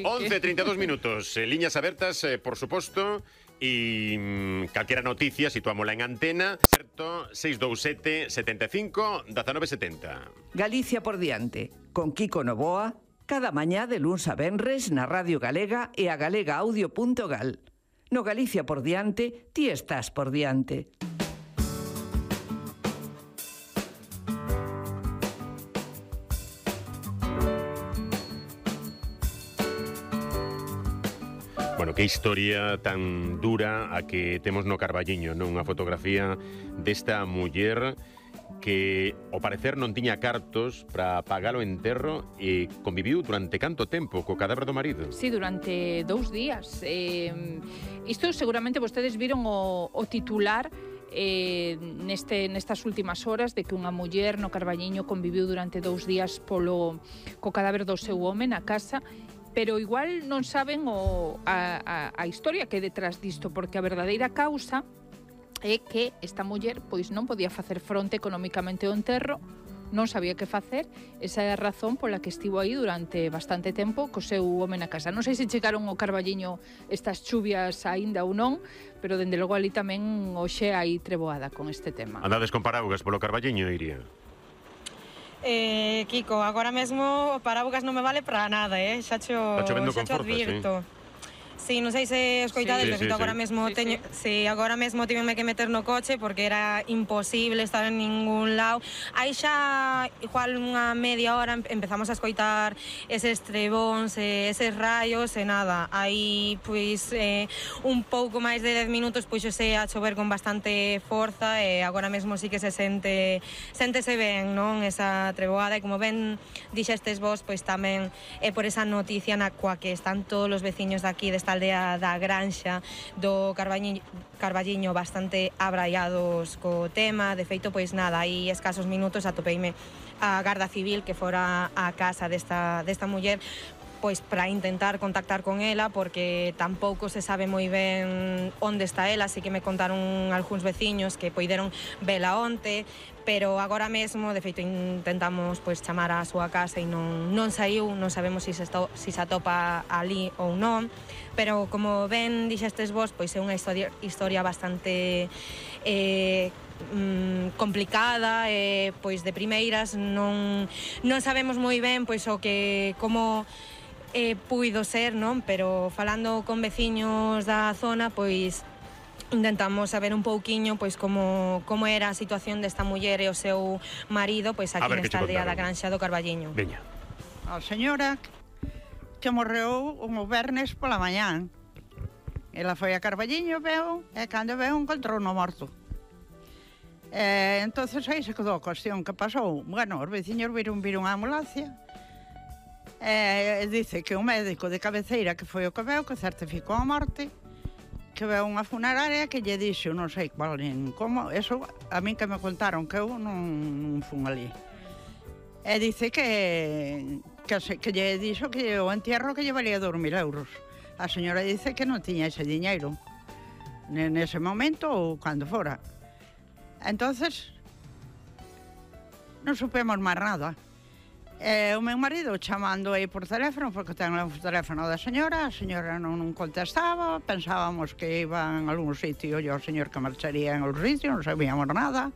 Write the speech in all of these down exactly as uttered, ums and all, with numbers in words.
once treinta y dos minutos, eh, liñas abertas, eh, por suposto, e mm, calquera noticia situámola en antena, certo, seis dous sete, setenta e cinco, diecinueve setenta. Galicia por diante, con Kiko Novoa, cada mañá de luns a venres na Radio Galega e a galega audio punto gal. No Galicia por diante, ti estás por diante. Bueno, que historia tan dura a que temos no Carballiño, non? Unha fotografía desta muller que, ao parecer, non tiña cartos para pagar o enterro e conviviu durante canto tempo co cadáver do marido? Sí, durante dous días. Eh, isto seguramente vostedes viron o, o titular eh, neste, nestas últimas horas de que unha muller no Carballiño conviviu durante dous días polo, co cadáver do seu home na casa, pero igual non saben o, a, a, a historia que é detrás disto, porque a verdadeira causa é que esta muller pois non podía facer fronte económicamente ao enterro, non sabía que facer, esa é a razón pola que estivo aí durante bastante tempo co seu home na casa. Non sei se chegaron ao Carballiño estas chuvias aínda ou non, pero dende logo ali tamén hoxe hai treboada con este tema. Andades con paraugas polo Carballiño, Iria? Eh, Kiko, agora mesmo o paraugas non me vale para nada, eh? Xa cho, xa cho advirto. Sí. Sí, non sei se escoitades, sí, de feito sí, agora sí. mesmo sí, teño, sí. sí, agora mesmo tiveme que meter no coche porque era imposible estar en ningún lado. Aí xa igual unha media hora empezamos a escoitar eses trebóns, eses raios e nada. Aí pois eh, un pouco máis de dez minutos pois xe a chover con bastante forza e agora mesmo sí que se sente séntese ben, non? Esa treboada e como ben dixestes vos, pois tamén é por esa noticia na coa que están todos os veciños de aquí desta aldea da Granxa do Carballiño, Carballiño bastante abraiados co tema. De feito, pois nada, aí escasos minutos atopeime a Garda Civil que fora a casa desta, desta muller pois para intentar contactar con ela porque tampouco se sabe moi ben onde está ela, así que me contaron algúns veciños que poideron vela onte, pero agora mesmo, de feito, intentamos pois chamar á súa casa e non, non saiu, non sabemos se si se, si se atopa ali ou non, pero como ben dixestes vos, pois é unha historia, historia bastante eh, mm, complicada, e eh, pois de primeiras non, non sabemos moi ben pois o que como eh, puido ser, non? Pero falando con veciños da zona, pois intentamos saber un pouquiño pois como como era a situación desta muller e o seu marido pois aquí nesta aldea da Granxa do Carballiño. Veña. A señora que morreu un vernes pola mañán. Ela foi a Carballiño, veu, e cando veu encontrou no morto. E entonces aí se quedou a cuestión que pasou. Bueno, os veciños viron vir unha ambulancia e dice que o médico de cabeceira que foi o que veu, que certificou a morte, que veu unha funeraria que lle dixo, non sei cual nin como, eso a min que me contaron, que eu non, non fun ali. E dice que, que, que lle dixo que o entierro que lle valía dos mil euros. A señora dice que non tiña ese diñeiro nese momento ou cando fora. Entonces non supemos máis nada. E o meu marido chamando aí por teléfono, porque ten o teléfono da señora, a señora non, non contestaba, pensábamos que iba en algún sitio, e o señor que marcharía en algún sitio, non sabíamos nada.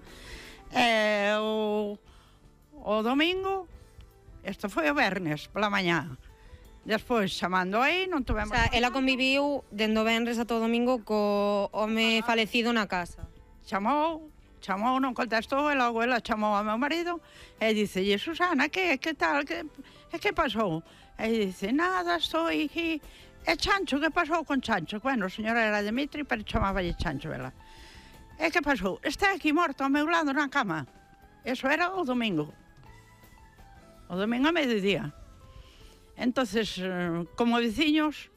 E o, o domingo, isto foi o vernes, pola mañá. Despois, chamando aí, non tuvemos... O sea, ela conviviu dende o venres a todo domingo co home ah. falecido na casa. Chamou, chamou, non contestou, e logo ela chamou ao meu marido e dice, Susana, que, que tal, que, que pasou? E dice, nada, estou aquí. E Chancho, que pasou con Chancho? Bueno, a señora era Dimitri, pero chamáballe Chancho, ela. E que pasou? Está aquí morto ao meu lado na cama. Eso era o domingo. O domingo a mediodía. Entonces, como veciños,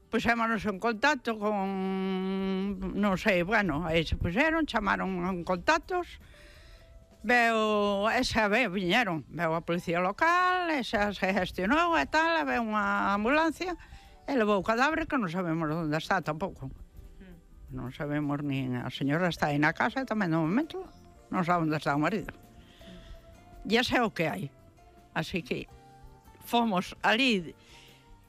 puxémonos en contacto con, non sei, bueno, aí se puxeron, chamaron en contactos, veo, esa vez viñeron, veo a policía local, esa se gestionou e tal, veo unha ambulancia, e levou o cadáver que non sabemos onde está tampouco. Non sabemos nin, a señora está aí na casa e tamén no momento non sabe onde está o marido. E ese é o que hai. Así que fomos ali